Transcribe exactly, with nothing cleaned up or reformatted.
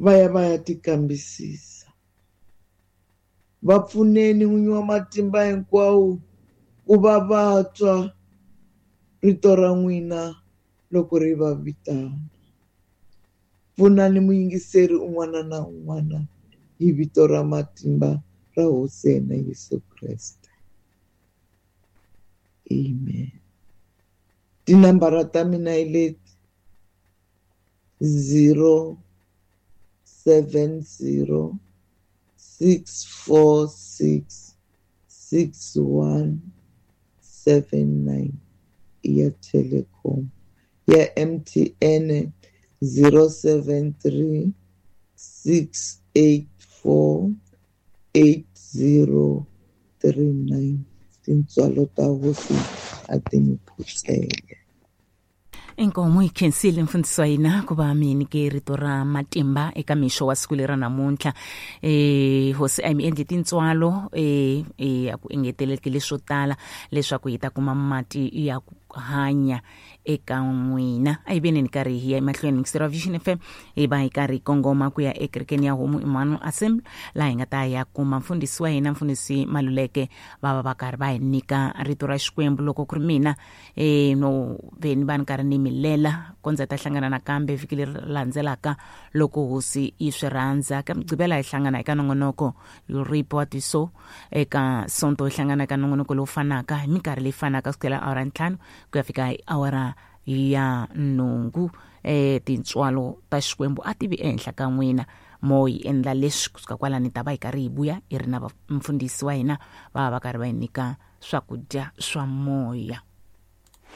va ya va ya tikambisisa. Va pfuneni N'winyi wa matimba hinkwawo ku va va twa rito ra n'wina loko ri va vitana. Pfunani muyingiseri un'wana na un'wana hi vito ra matimba ra Hosi ya hina Yesu Kreste. Amen. Tinambara ta mina hi leti: zero seven zero six four six six one seven nine ya Telkom, ya M T N zero seven three six eight four eight zero three nine. Tintswalo ta Hosi a ti mi phutsele. Inkomo yi khensile mfundhisi wa hina ku va mi nyike rito ra matimba eka mixo wa siku leri ra namuntlha. Eh hosi a yi mi endli tintswalo eh eh a ku engeteleki leswo tala leswaku hi ta kuma mati ya ku hanya eka n'wina. A hi veni ni karhi hi ya emahlweni yingiseri wa Vision F M, hi va hi karhi hi kongoma ku ya ekerekeni ya Homu Emmanuel Assembly, laha hi nga ta ya kuma mfundhisi wa hina mfundhisi Maluleke, va va va karhi va hi nyika rito ra Xikwembu. Loko ku ri mina eh no veni va ni karhi ni milela kondza ta hlangana nakambe vhiki leri landzelaka loko hosi yi swi rhandza. Ka Mugqivela hi hlangana eka nongonoko Report so, eka Sonto hi hlangana eka nongonoko lowu fanaka hi minkarhi leyi fanaka kusukela awara ntlhanu ku ya fika hi awara ya nhungu. Eh tintswalo ta Xikwembu a ti vi ehenhla ka n'wina. Mo hi endla leswi kusuka kwalani ta va hi karhi hi vuya hi ri na mfundhisi wa hina, va va va karhi va hi nyika swakudya swa moya.